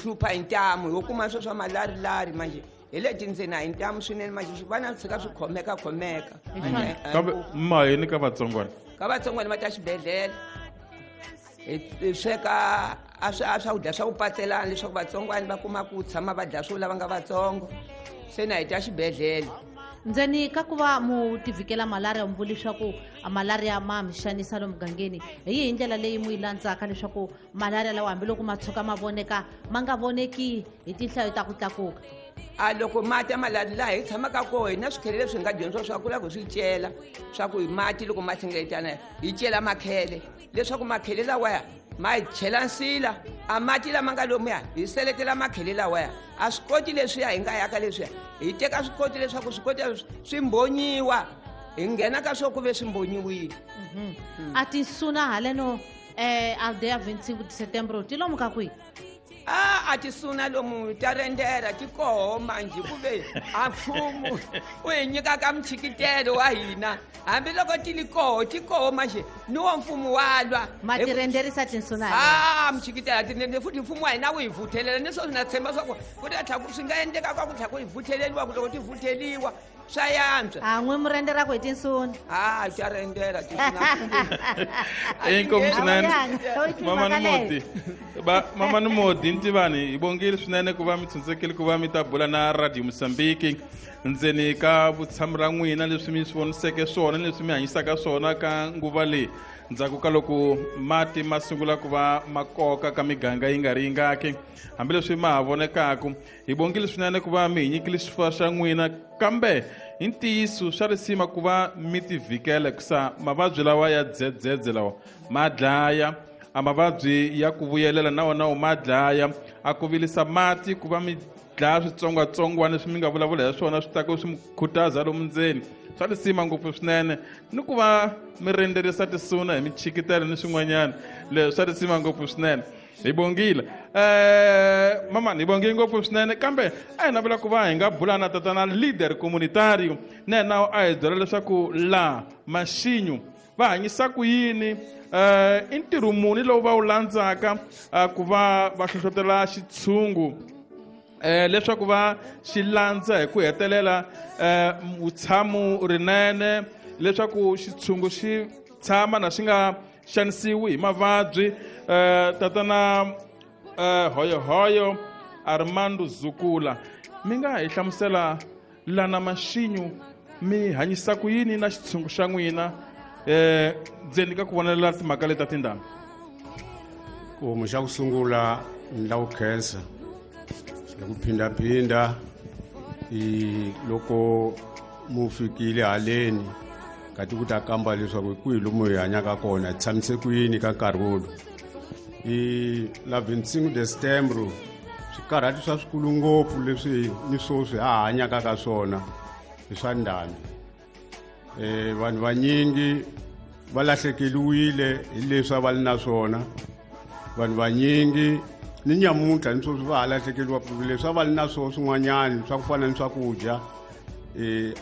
hlupha hi ntamu ho kuma swo swa malarilari manje hi leti ndzeni hi ntamu swinene manje swi vana tshika swi khomeka khomeka. Kambe mayini ka vatsongwana? Ka vatsongwana va ta xibedhlele hi sweka a swakudya swa ku patselana leswaku vatsongwana va kuma ku tshama va dya swo lava nga vatsongo se na hi ta xibedhlele. Ndzeni ka ku va mu tivhikela malaria mi vula leswaku malaria ma mi xanisa lomu mugangeni, hi yihi ndlela leyi mu yi landzaka leswaku malaria lawa hambiloko ma tshuka ma voneka ma nga voneki hi tinhlayo ta ku tlakuka? A loko mati ya malaria laha hi tshamaka kona hi na swikhele leswi hi nga dyondzisiwa swa ku lava ku swi cela swa ku hi mati loko ma hlengeletana hi cela makhele leswaku makhele lawaya ma hi chela nsila a mati lama nga lomuya hi seletela makhele lawaya a swi koti leswiya hi nga yaka leswiya hi teka swikoti leswaku swikoti swi mbonyiwa hi nghena ka swo ku ve swi mbonyiwile. A tinsuna haleno aldeia 25 de setembro ti lomu ka kwihi? A ti suna lomu ta rendera ti koho manjhe ku ve a mfumo u hi nyikaka mchikitelo wa hina hambiloko ti li koho ti koho manjhe ni wo mfumo wa lwa ma ti renderisa tinsuna. A mchikitelo ti rende futhi mfumo wa hina wu hi vuthelela ni sweswi na tshemba swa ku ku ta tlha ku swi nga endleka ka ku tlha ku hi vutheleliwa ku loko ti vutheliwa swa yantswa. A n'wi mu renderaka hi tinsuna? A ta rendera tinsuna. Inkomu swinene mama ni modi ba mama ni modi ntivani hi bongile swinene ku va mi tshunxekile ku va mi ta bula na Radio Mozambique ndzeni ka vutshamo ra n'wina leswi mi swi voniseke swona leswi mi hanyisaka swona ka nguva leyi ndzhaku ka loko mati ma sungula ku va ma koka ka miganga yi nga ri yingaki hambileswi ma ha vonekaka. Hi bongile swinene ku va mi hi nyikile xifuva xa n'wina kambe hi ntiyiso swa risima ku va mi tivhikela hikusa mavabyi lawa ya dzedzedze lawa ma dlaya a mavabyi ya ku vuyelela na wona ma dlaya a ku vilisa mati ku va mi dlaya switsongwatsongwana leswi mi nga vulavula hi swona swi ta ku swi mi khutaza lomu ndzeni swa risima ngopfu swinene ni ku va mi renderisa tisuna hi michikitelo ni swin'wanyana leswi swa risima ngopfu swinene. Hi bongile mama hi bongile ngopfu swinene kambe a hi navela ku va hi nga bula na tatana leader communitario na yena a hi byela leswaku la Maxinyu va hanyisa ku yini i ntirho muni lowu va wu landzaka ku va va hlohlotela xitshungu leswaku va xi landza hi ku hetelela vutshamo rinene leswaku xitshungu xi tshama na xi nga xanisiwi hi mavabyi. Tatana Hoyohoyo Armando Zukula mi nga hi hlamusela lana Maxinyu mi hanyisa ku yini na xitshungu xa n'wina ndzeni ka ku vonelela timhaka leti ta tindhambi? Ku xa ku sungula ni lava ku khensa hi ku phindaphinda loko mu fikile haleni kati ku ta kamba leswaku hi kwihi lomu hi hanyaka kona hi tshamise ku yini ka nkarhi wolu. I la 25 de setembro swikarhati swa swikulu ngopfu leswi ni swoswi ha hanyaka ka swona hi swa ndhambi. Vanhu vanyingi va lahlekeliwile hi leswi a va li na swona vanhu vanyingi ni nyamuntlha ni swoswi va ha lahlekeliwa leswi a va li na swona swin'wanyani swa ku fana ni swakudya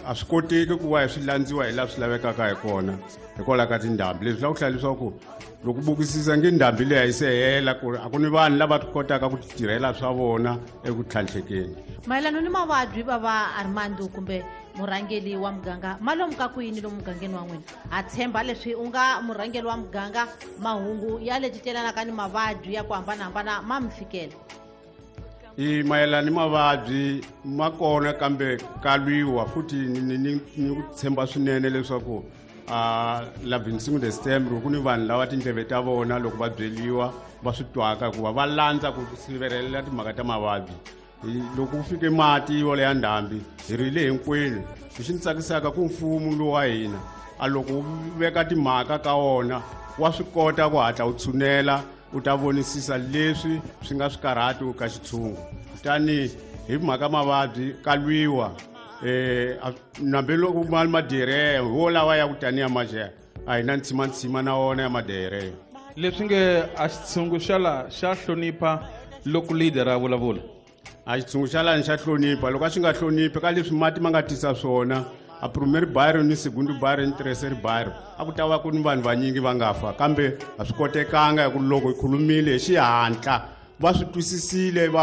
a swi koteki ku va hi swi landziwa hi laha swi lavekaka hi kona hikwalaho ka tindhambi. Leswi lava ku hlaya leswaku loko bukisisa nge ndhambi leyi a yi se hela ku ri a ku ni vanhu lava kotaka ku tirhela swa vona eku tlhantlhekeni. Mayelana ni mavabyi bava Armando kumbe murhangeri wa muganga malomu ka ku yini lomu mugangeni wa n'wina? Ha tshemba leswi u nga murhangeri wa muganga mahungu ya leti telanaka ni mavabyi ya ku hambanahambana ma mi fikela? I mayelana ni mavabyi ma kona kambe ka lwiwa futhi ni ku tshemba swinene leswaku la 25 de setembro ku ni vanhu lava tindleve ta vona loko va byeliwa va swi twaka hikuva va landza ku siverelela timhaka ta mavabyi. Loko ku fike mati yola ya ndhambi hi rile hinkwenu lexi ni tsakisaka ku mfumo lowu wa hina a loko wu veka timhaka ka wona wa swi kota ku hatla wu tshunela u ta vonisisa leswi swi nga swikarhati ka xitshungu. Kutani hi mhaka mavabyi ka lwiwa nambe loko ma madiarrhea hi wo lawa ya ku taniya majeya a hi na ntsimantsima na wona ya madiarrhea. Leswi nge a xitshungu xa la xa hlonipha loko leader a vulavula? A xitshungu xa lani xa hlonipha loko a xi nga hloniphi ka leswi mati ma nga tisa swona a primary bairro ni segundo bairro ni terceiro bairro a ku ta va ku ni vanhu vanyingi va nga fa kambe a swi kotekanga hi ku loko hi khulumile hi xihatla va swi twisisile va